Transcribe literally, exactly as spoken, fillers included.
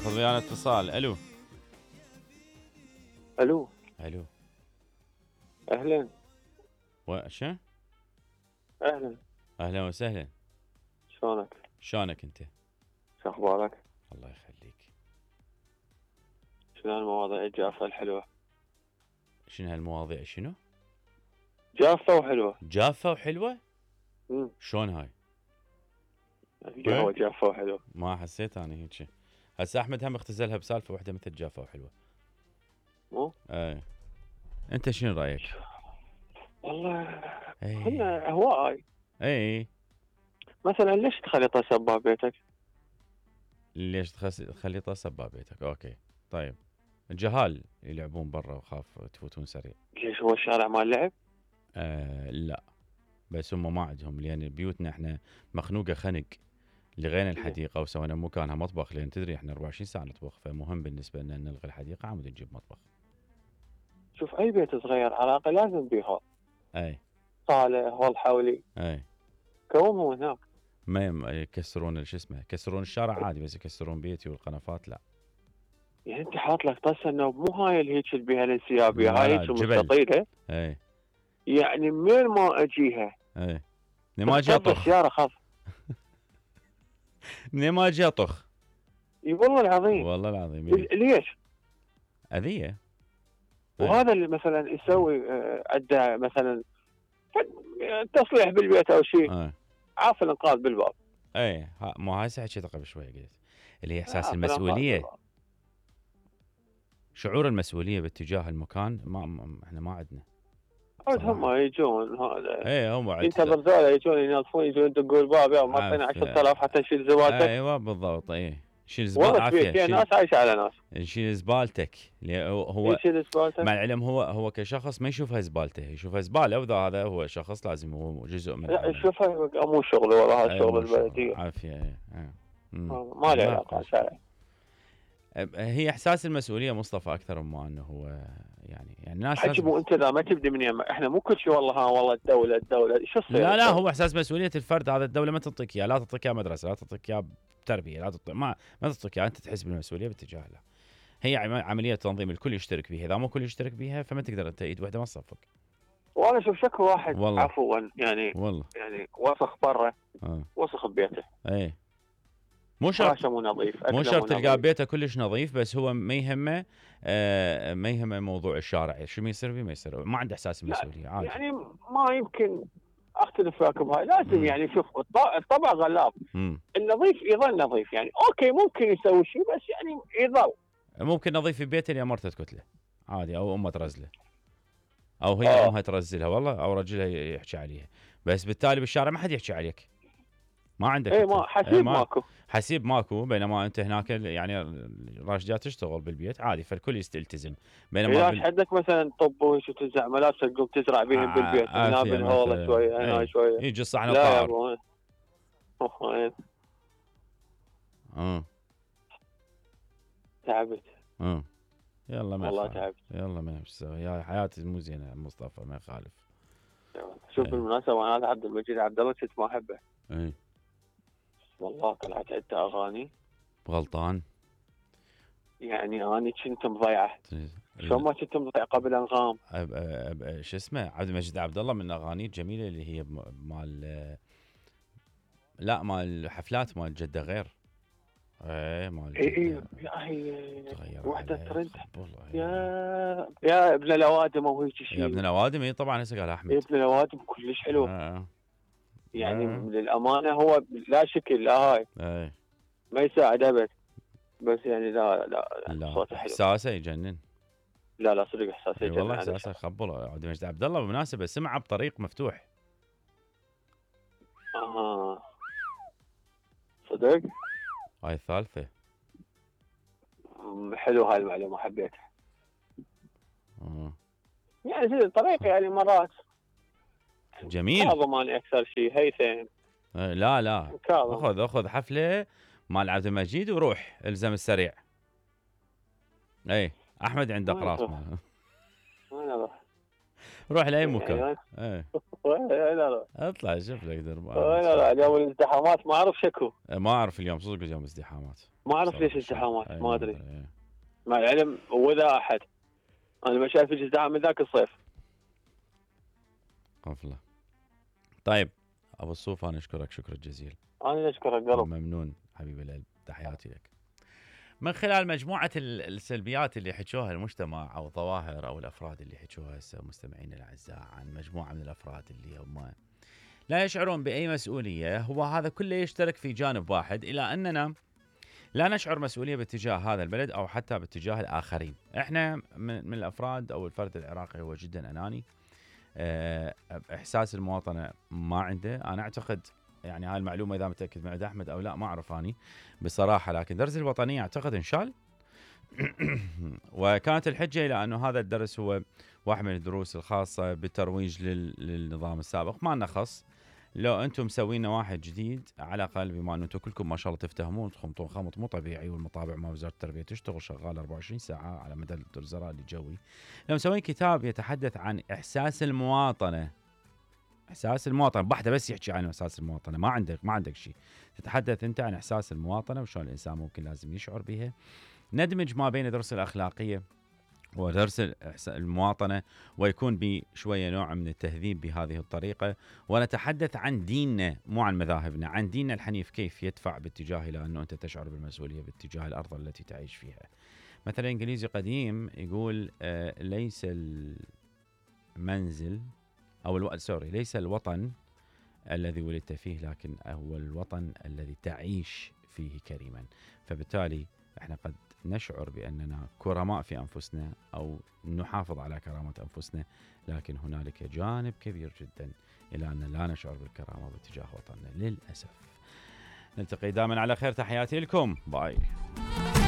ناخذ ويانا اتصال. الو الو الو اهلا. وشو؟ اهلا اهلا وسهلا. شلونك؟ شلونك انت؟ شو اخبارك؟ الله يخليك. شنو المواضيع الجافة الحلوة؟ شنو هالمواضيع شنو؟ جافة وحلوة. جافة وحلوة؟ امم شلون هاي؟ القهوة جافة وحلوة. ما حسيت انا هيك. هسه احمد هم اختزلها بسالفة واحدة مثل جافة وحلوة. مو؟ اي. انت شنو رايك؟ والله اي كنا اهواء. اي. مثلا ليش تخلي طاسة بباب بيتك؟ ليش تخس... تخلي طاسة بباب بيتك؟ اوكي طيب. الجهال يلعبون برا وخاف تفوتون سريع. ليش هو الشارع مال لعب؟ آه لا، بس هم ما عندهم، لان بيوتنا احنا مخنوقه خنق. لغينا الحديقه وسوينا مكانها مطبخ، لان تدري احنا أربعة وعشرين ساعه نطبخ، فمهم بالنسبه لنا نلغي الحديقه عمود نجيب مطبخ. شوف اي بيت صغير على الاقل لازم بيه هول. اي صاله هول حولي. اي. كوموا هناك. ما يم- يكسرون شو اسمه، يكسرون الشارع عادي، بس يكسرون بيتي والقنفات لا. يعني انت حاط لك طاسه انه مو هاي اللي هيك اللي بيها الانسيابيه، لا هاي لا، هيك جبل. مستطيله. اي يعني منين ما اجيها اي. منين ما اجي تخطب اطخ. السياره خاف. منين ما اجي اطخ. اي والله العظيم. والله العظيم. ليش؟ اذيه. وهذا اللي مثلا يسوي آه، عنده مثلا تصليح بالبيت او شيء، اي عاف الانقاذ بالباب. اي. مو هاي حكيتها قبل شوي قلت اللي هي احساس عاف الإنقاذ المسؤوليه. بالباب. شعور المسؤوليه باتجاه المكان ما, ما احنا ما عندنا. عاد هم يجون هذا ايه هم ينتظر ذولا يجون ينظفون، يجون يدقون الباب، يا ما اعطينا عشرة آلاف حتى نشيل زبالتك. ايوه بالضبط. ايه شيل زبال والله عافيه. فيها ناس عايشه على ناس. شيل زبالتك. هو يشيل زبالتك. مع العلم هو هو كشخص ما يشوفها زبالته، يشوفها زباله، واذا هذا هو شخص لازم هو جزء من. لا شوفها مو شغل والله، هذا شغل البلديه. عافيه. ايه ايه. ما له علاقه شرعي. هي احساس المسؤوليه مصطفى اكثر مما انه هو يعني يعني الناس حكي مو انت اذا ما تبدي من يم احنا مو كل شيء والله ها والله الدوله الدوله شو تصير. لا لا، هو احساس مسؤوليه الفرد. هذا الدوله ما تعطيك اياه، لا تعطيك اياه مدرسه، لا تعطيك اياه تربيه، لا تعطيك ما ما تعطيك اياه، انت تحس بالمسؤوليه باتجاه له. هي عمليه تنظيم الكل يشترك بها، اذا مو الكل يشترك بها فما تقدر انت ايد واحده ما تصفق. وانا شوف شكو واحد والله. عفوا يعني والله يعني وسخ برا آه. وسخ ببيته. اي مو شرط مو نظيف، مو شرط تلقاه بيته كلش نظيف، بس هو ما يهمه آه ما يهمه موضوع الشارع، شو ما يصير فيه ما يصير، ما عنده احساس المسؤوليه عادي. يعني ما يمكن اختلف وياك بهاي، لازم مم. يعني شوف الطبع غلاب. مم. النظيف يظل نظيف، يعني اوكي ممكن يسوي شيء بس يعني يظل ممكن نظيف في بيته اللي امرته تكتله عادي، او امه ترزله، او هي آه. امها ترزلها والله، او رجلها يحكي عليها، بس بالتالي بالشارع ما حد يحكي عليك، ما عندك. اي ما حسيب ايه ما ماكو حسيب ماكو، بينما انت هناك يعني راشدات تشتغل بالبيت عادي، فالكل يلتزم. بينما بال... عندك مثلا طب وهيك وتنزع ملابسك تقوم تزرع بهم بالبيت، هنا بالهوله شويه هنا شويه يجي صحن لا يا طائر. ابو وين اه تعبت. اه يلا ما والله يخالف. تعبت. يلا ما نسوي، يا حياتي مو زينه مصطفى، ما يخالف. شوف ايه. بالمناسبه انا عبد المجيد عبد الله كنت ما احبه. ايه والله طلعت عنده اغاني غلطان. يعني انا كنت مضيعه. شلون ما كنت مضيع قبل انغام. أب أب شو اسمه عبد المجيد عبد الله من الاغاني الجميله اللي هي مال، لا مال حفلات مال جده غير. ايه مال اي اي جده. يا هي تغير وحده عليك ترند. خبل. يا يا ابن الاوادم او هيك شيء. يا ابن الاوادم اي طبعا هسه قال احمد. يا ابن الاوادم كلش حلو. آه. يعني آه. للامانه هو لا شكل لا هاي ايه ما يساعد ابد، بس يعني لا لا, لا صوته حلو. احساسه يجنن. لا لا صدق احساسه اي والله يجنن. احساسه خبل. عبد المجيد عبد الله بالمناسبه سمعه بطريق مفتوح. اها صدق. هاي الثالثه. حلو هاي المعلومه حبيتها. آه. يعني زي الطريق يعني مرات جميل. كاظم انا اكثر شيء هيثم. آه لا لا كاظم. اخذ اخذ حفله مال عبد المجيد وروح الزم السريع. اي احمد عنده قراص. انا روح لاي مكان. يعني ايه وين اروح؟ اطلع شوف لك درب. وين اروح؟ اليوم الازدحامات ما اعرف شكو. ما اعرف اليوم صدق اليوم ازدحامات. ما اعرف بصراحة ليش ازدحامات أي ما ادري. إيه. مع العلم وذا احد انا ما شايف ازدحام من ذاك الصيف. غفله. طيب ابو الصوف انا اشكرك شكرا جزيلا. انا اشكرك قلب. ممنون حبيبي القلب، تحياتي لك. من خلال مجموعة السلبيات اللي حكوها المجتمع أو الظواهر أو الأفراد اللي حكوها هسه مستمعين الأعزاء عن مجموعة من الأفراد اللي هم لا يشعرون بأي مسؤولية، هو هذا كله يشترك في جانب واحد، إلى أننا لا نشعر مسؤولية باتجاه هذا البلد أو حتى باتجاه الآخرين. إحنا من الأفراد أو الفرد العراقي هو جدا أناني، إحساس المواطنة ما عنده. أنا أعتقد يعني هاي المعلومة إذا متأكد من عند أحمد أو لا ما أعرف أني بصراحة، لكن درس الوطنية أعتقد انشال. وكانت الحجة إلى أنه هذا الدرس هو واحد من الدروس الخاصة بالترويج للنظام السابق. ما لنا خص، لو أنتم مسوين واحد جديد على الأقل، بما أنه أنتم كلكم ما شاء الله تفتهمون تخمطون خمط مو طبيعي، والمطابع مع وزارة التربية تشتغل شغال أربعة وعشرين ساعة على مدى الزراء الجوي. لو مسوين كتاب يتحدث عن إحساس المواطنة، احساس المواطنه بحده بس يحكي عن احساس المواطنه، ما عندك ما عندك شيء، تتحدث انت عن احساس المواطنه وشلون الانسان ممكن لازم يشعر بها. ندمج ما بين درس الاخلاقيه ودرس المواطنه، ويكون بشويه نوع من التهذيب بهذه الطريقه، ونتحدث عن ديننا مو عن مذاهبنا، عن ديننا الحنيف كيف يدفع باتجاه الى انه انت تشعر بالمسؤوليه باتجاه الارض التي تعيش فيها. مثلا انجليزي قديم يقول آه ليس المنزل أو الو... سوري ليس الوطن الذي ولدت فيه، لكن هو الوطن الذي تعيش فيه كريما. فبالتالي احنا قد نشعر بأننا كرماء في أنفسنا أو نحافظ على كرامة أنفسنا، لكن هنالك جانب كبير جدا إلى أن لا نشعر بالكرامة باتجاه وطننا للأسف. نلتقي دائما على خير، تحياتي لكم، باي.